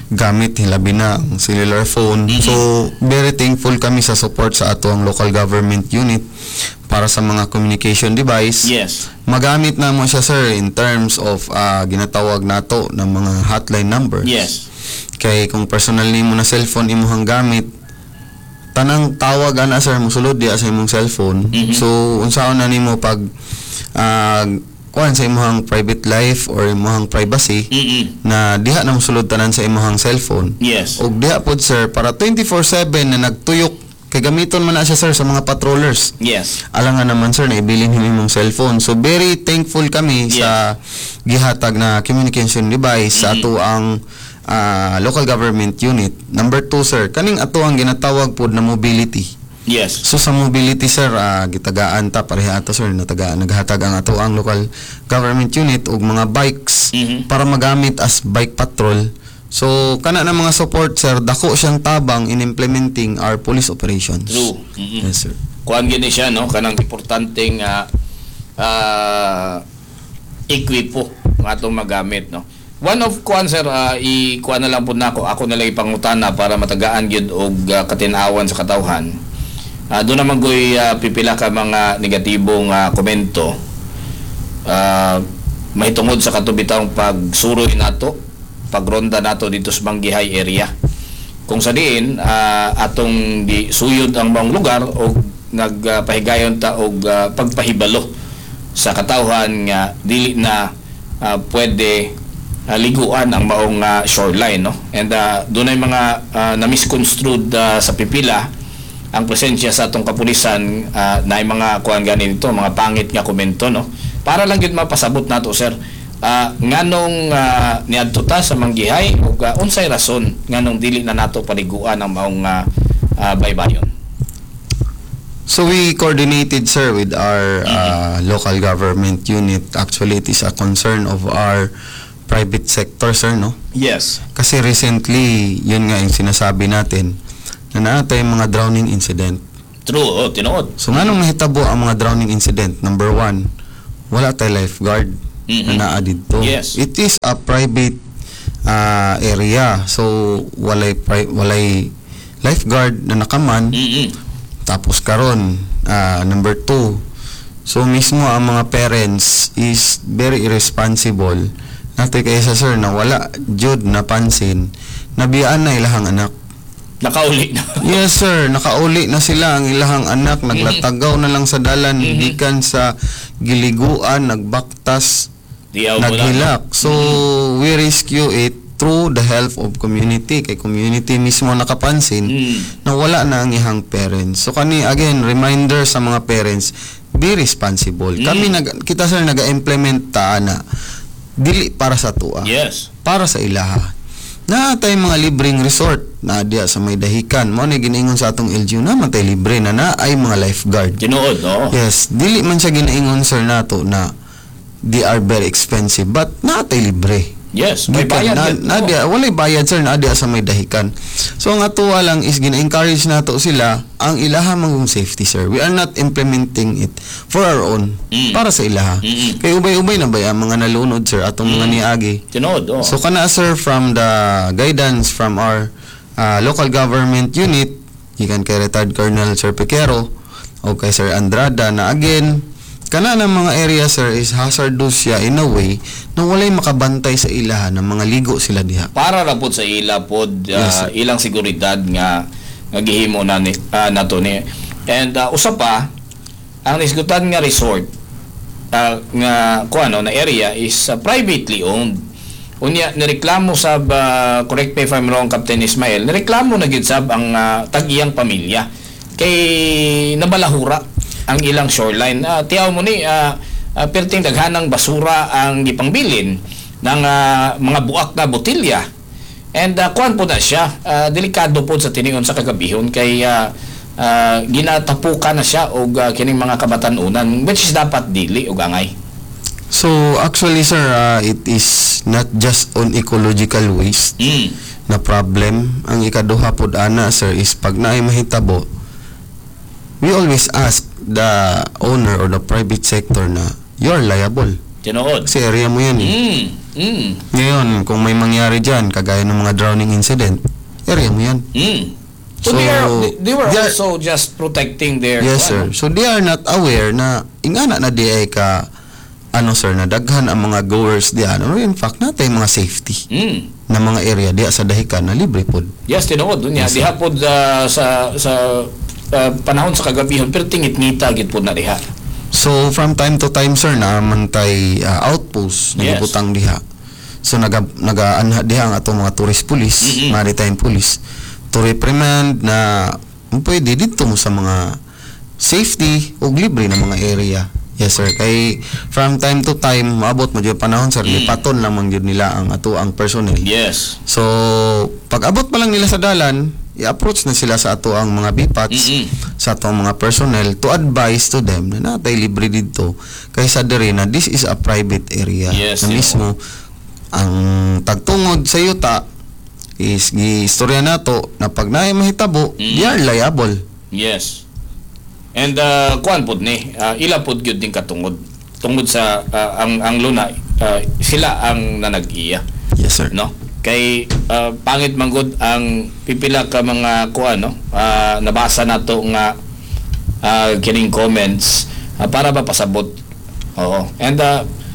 B: gamit, hilabi na ang cellular phone. So very thankful kami sa support sa ato ang local government unit para sa mga communication device. Magamit na mo siya, sir, in terms of ginatawag nato ng mga hotline numbers. Kay kung personal nimo na cellphone imuhang gamit, tanang tawag ana, sir, mosulod diya sa imong cellphone. So unsaon na nimo pag kuan sa imong private life or imong privacy na diha na mosulod tanan sa imong cellphone? Og diha pod, sir, para 24/7 na nagtuyok kay gamiton man na siya, sir, sa mga patrollers. Alangan naman, sir, na ibilin nimo imong cellphone. So very thankful kami sa gihatag na communication device sa ato ang local government unit. Number two, sir, kaning ato ang ginatawag pod na mobility. So sa mobility, sir, gitagaan ta pareha ato, sir, natagaan naghatag ang ato ang local government unit og mga bikes para magamit as bike patrol. So kana na mga support, sir, dako siyang tabang in implementing our police operations.
A: True.
B: Yes, sir.
A: Kuan gini siya, no, kanang importanteng ekwipo nga atong magamit, no? One of kuan, sir, i kuan na lang pud nako, ako na lang ipangutana para matagaan gyud og katin-awan sa katawhan. Doon naman goy pipila ka mga negatibong komento mahitungod sa katubitang pagsuroy nato, pagronda nato dito sa Manggihay area. Kung sa diin atong di suyod ang maong lugar o nagpahigayon ta og pagpahibalo sa katawhan nga dili na pwede liguan ang maong shoreline, no? And dunay mga na-misconstrued sa pipila ang presensya sa atong kapulisan, na mga kuan gani dito, mga pangit nga komento, no? Para lang gyud mapasabot nato, sir, nganong niadto ta sa Manggihay ug unsay rason nganong dili na nato paliguan ang maong baybayon?
B: So we coordinated, sir, with our local government unit. Actually, it is a concern of our private sector, sir, no?
A: Yes.
B: Kasi recently, yun nga yung sinasabi natin, na naa tay mga drowning incident.
A: True, oh, tinuod.
B: So nganong nahitabo ang mga drowning incident? Number one, wala tay lifeguard na naa didto. It is a private area. So walay lifeguard na nakaman. Tapos karon, number two, so mismo ang mga parents is very irresponsible. Natoy kaysa, sir, na wala jud napansin, nabiyaan na ilahang anak.
A: Nakauli na.
B: Yes, sir, nakauli na sila ang ilahang anak, naglatagaw na lang sa dalan, gikan sa giliguan, nagbaktas,
A: Diyaw mo na.
B: naghilak. So we rescue it through the help of community, kay community mismo nakapansin na wala na ang ihang parents. So kani, again, reminder sa mga parents, be responsible. Kami nag kita, sir, naga-implement ta na dili para sa atoa, para sa ilaha. Naa tay mga libreng resort na diya sa may dahikan. Mao ni ginaingon sa atong LGU na man tay libre na naay mga lifeguard.
A: Tinuod, oo.
B: Yes, dili man siya ginaingon, sir, nato na they are very expensive, but naa tay libre.
A: Yes, may
B: Gikan
A: bayad
B: na,
A: yun.
B: na diya, walay bayad, sir, na diya sa may dahikan. So ang atoa lang is gina-encourage nato sila ang ilaha mangong safety, sir. We are not implementing it for our own, para sa ilaha. Kay ubay-ubay na ba ang mga nalunod, sir, atong mga niagi.
A: Tinuod, oo.
B: So kana, sir, from the guidance from our local government unit, gikan kay retired Colonel Sir Pequero o kay Sir Andrada, na again kana ng mga area, sir, is hazardous siya in a way na walay makabantay sa ilaha ng mga ligo sila diha.
A: Para ra pod sa ila pod
B: Yes, sir.
A: ilang seguridad nga nga gihimo na ni nato ni. And usa pa, ang nisgutan nga resort nga kuano na area is privately owned. Unya nireklamo sab, correct me if I'm wrong, Captain Ismael, nireklamo na gyud sab ang tag-iyang pamilya kay nabalahura ang ilang shoreline. Tiyaw mo ni perting daghanang basura ang gipangbilin ng mga buak na botilya. And kuan po na siya, delikado po sa tinion sa kagabihon kay ginatapukan na siya og kining mga kabatanunan, which is dapat dili og angay.
B: So actually, sir, it is not just on ecological waste na problem. Ang ikaduha pod ana, sir, is pag naay mahitabo, we always ask the owner or the private sector na you're liable.
A: Tinuod.
B: Kasi area mo yan eh. Ngayon, kung may mangyari dyan, kagaya ng mga drowning incident, area mo yan.
A: So, they were also just protecting their
B: Yes, sir.
A: kuan.
B: So they are not aware na ingana na di ay ka ano, sir, na daghan ang mga goers diyan or in fact natay mga safety na mga area diya sa dahikan na libre pod.
A: Yes, tinuod unya diha pod sa panahon sa kagabihon pero tingit-ngita gid pod na diha.
B: So from time to time, sir, naa man tay outpost na gibutang diha. So naga-anha diha ang atong mga tourist police, maritime police, to reprimand na pwede dito mo sa mga safety o libre na mga area. Yes, sir, kay from time to time maabot mo jud panahon, sir, lipaton lang man jud nila ang ato ang personnel. So pag abot pa lang nila sa dalan, i-approach na sila sa ato ang mga BPATs, sa atong mga personnel to advise to them na natay libre dito kaysa diri na this is a private area na mismo ang tagtungod sa yuta is giistorya nato na pag naay mahitabo, they are liable.
A: Yes. And kuan pod ni, ila pod gyud din katungod. Tungod sa ang luna, sila ang nanag-iya,
B: Yes, sir.
A: No? Kay pangit man gud ang pipila ka mga kuan, no? Nabasa nato nga kining comments para ba pasabot. Oo. And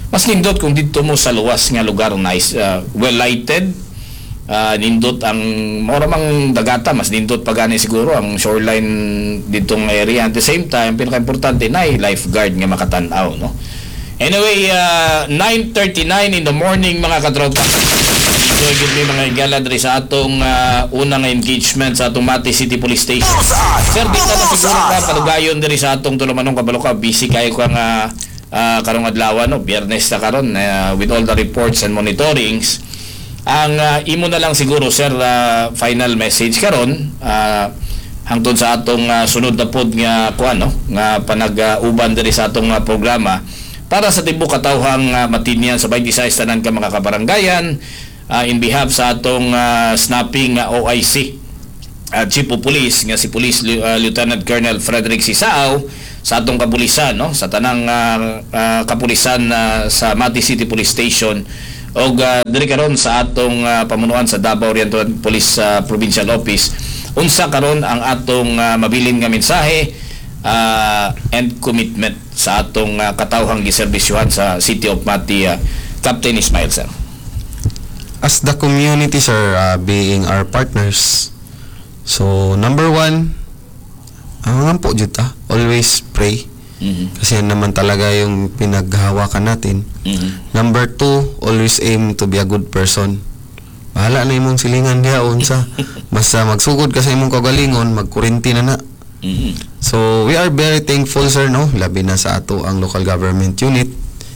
A: mas nindot kung didto mo sa luwas nga lugar, nice, well lighted, nindot ang mora mang dagata, mas nindot pa gani siguro ang shoreline ditong area. At the same time, pinaka-importante na ay lifeguard nga makatan-aw, no? Anyway, 9:39 in the morning, mga katropa. Enjoy gid mi, mga higala, diri sa atong unang engagement sa atong Mati City Police Station. Sir, di ka na siguro ka padugayon diri sa atong tulumanong, kabalo ka busy kayo ka nga karong adlaw, no? Biyernes na karon, with all the reports and monitorings. Ang imo na lang siguro, sir, final message karon hangtod sa atong sunod na pod nga kuan, no, nga panag-uban diri sa atong programa para sa tibuok katawhang Matinian sa 26 tanan ka mga kabaranggayan, in behalf sa atong snapping OIC Chief of Police nga si Police Lieutenant Colonel Frederick Sisao, sa atong kapulisan, no, sa tanang kapulisan sa Mati City Police Station. Og diri karon sa atong pamunuan sa Davao Oriental Police Provincial Office, unsa karon ang atong mabilin nga mensahe and commitment sa atong katawhang giserbisyuhan sa City of Mati, Captain Ismail, sir?
B: As the community, sir, being our partners, so number one, ang po jud ta, always pray. Kasi yan naman talaga yung pinaghahawakan natin. Number two, always aim to be a good person. Bahala na imong silingan diha unsa. Basta magsugod ka sa imong kagalingon, magkurinti na na. So, we are very thankful, sir, no? Labi na sa ato ang local government unit,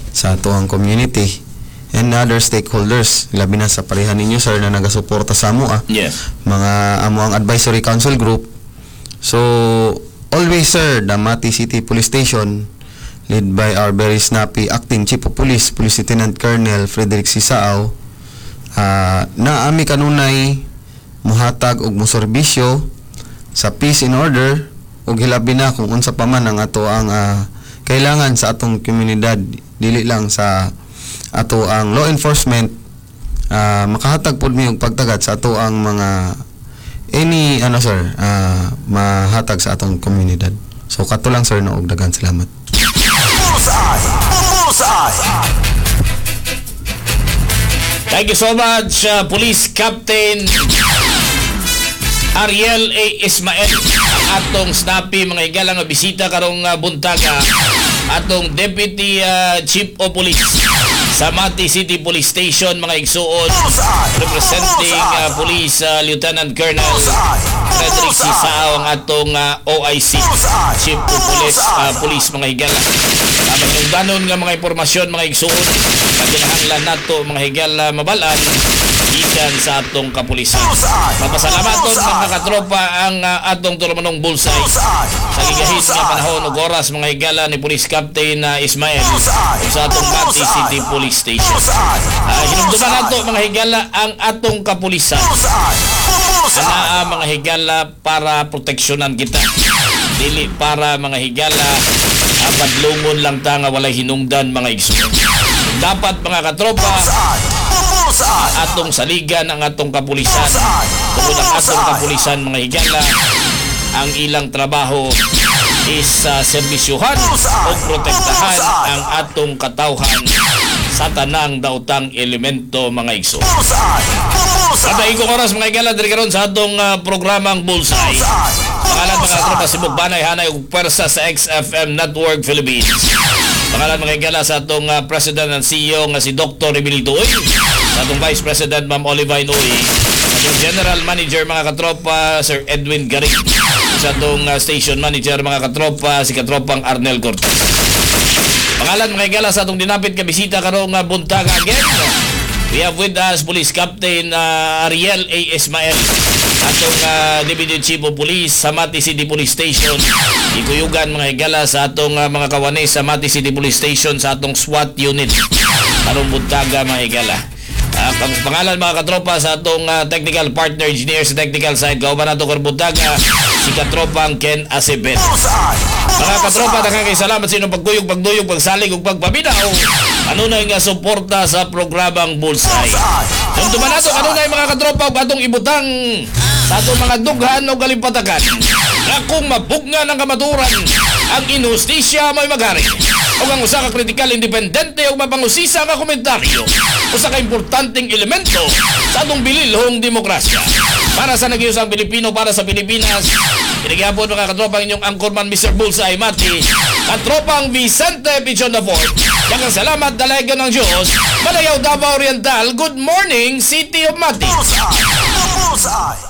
B: sa ato ang community, and other stakeholders. Labi na sa pareha ninyo, sir, na nagasuporta sa amo, ah. Mga amo ang advisory council group. So, always, sir, the Mati City Police Station, led by our very snappy acting chief of police, Police Lieutenant Colonel Frederick Sisao, na ami kanunay muhatag og muserbisyo sa peace and order ug hilabi na kung unsa pa man ang ato ang kailangan sa atong komunidad, dili lang sa ato ang law enforcement, makahatag pud mi og pagtagad sa ato ang mga any ano, sir, mahatag sa atong komunidad. So kato lang, sir, no, og daghan salamat.
C: Bullseye! Bullseye!
A: Thank you so much, Police Captain Ariel A. Ismael. Ang atong snappy, mga higala, nga bisita karong buntaga, atong Deputy Chief of Police sa Mati City Police Station, mga igsuon, representing Police Lieutenant Colonel Frederick Sisao, ang atong OIC Chief of Police, mga higala. Danon nga mga impormasyon, mga igsuon, paginahanglan nato, mga higala, mabalan gikan sa atong kapulisan. Mapasalamaton, mga katropa, ang atong tulumanong Bullseye sa gigahit nga panahon ug oras, mga higala, ni Police Captain Ismael sa atong Mati City Police Station. Hinumduman nato, mga higala, ang atong kapulisan. Anaa, mga higala, para proteksyonan kita. Dili para, mga higala, padlungon lang ta nga walay hinungdan, mga igsoon. Dapat, mga katropa, atong saligan ang atong kapulisan. Tungod ang atong kapulisan, mga higala, ang ilang trabaho is sa serbisyuhan o protektahan ang atong katawhan sa tanang daotang elemento, mga igsoon. At ikong oras, mga higala, diri karon sa atong programang Bullseye. Pangalan, mga katropa, Sibug Banay, Hanay ug Pwersa sa XFM Network Philippines. Pangalan, mga higala, sa atong President and CEO nga si Dr. Emilio Uy, sa atong Vice President Ma'am Olivine Uy, sa atong General Manager, mga katropa, Sir Edwin Garing, sa atong Station Manager, mga katropa, si katropang Arnel Cortez. Pangalan, mga higala, sa atong dinapit ka bisita karong buntaga again. We have with us Police Captain Ariel A. Ismael, atong Deputy Chief of Police sa Mati City Police Station. Ikuyugan, mga higala, sa atong mga kawani sa Mati City Police Station sa atong SWAT unit karong buntaga, mga higala. Ang pangalan, mga katropa, sa atong technical partner engineer sa technical side, kauban nato karong buntaga si katropang Ken Acevedo. Mga katropa, daghang kay salamat sa inyong pagkuyog, pagduyog, pagsalig ug pagpaminaw. Kanunay nga suporta sa programang Bullseye. Hinumduman nato kanunay, mga katropa, ug atong ibutang sa atong mga dughan o kalimpatakan na kung mabugna ng kamaturan, ang inhustisya may maghari. O ang usa ka kritikal, independente ug mapangusisa nga komentaryo, usa ka importanteng elemento sa atong bililhong demokrasya. Para sa nag-iusang Pilipino, para sa Pilipinas, Pinagyapon, mga katropa, ang inyong anchorman, Mr. Bullseye Mati, katropang Vicente Pichon the Fourth. Daghang salamat, dalaygon ng Diyos. Madayaw, Davao Oriental. Good morning, City of Mati.
C: Bullseye!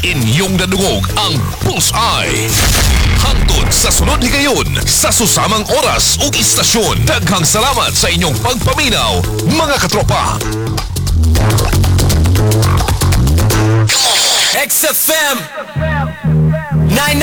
D: Inyong nadungog ang Bullseye. Hangtod sa sunod higayon sa susamang oras ug istasyon. Daghang salamat sa inyong pagpaminaw, mga katropa.
E: XFM 99.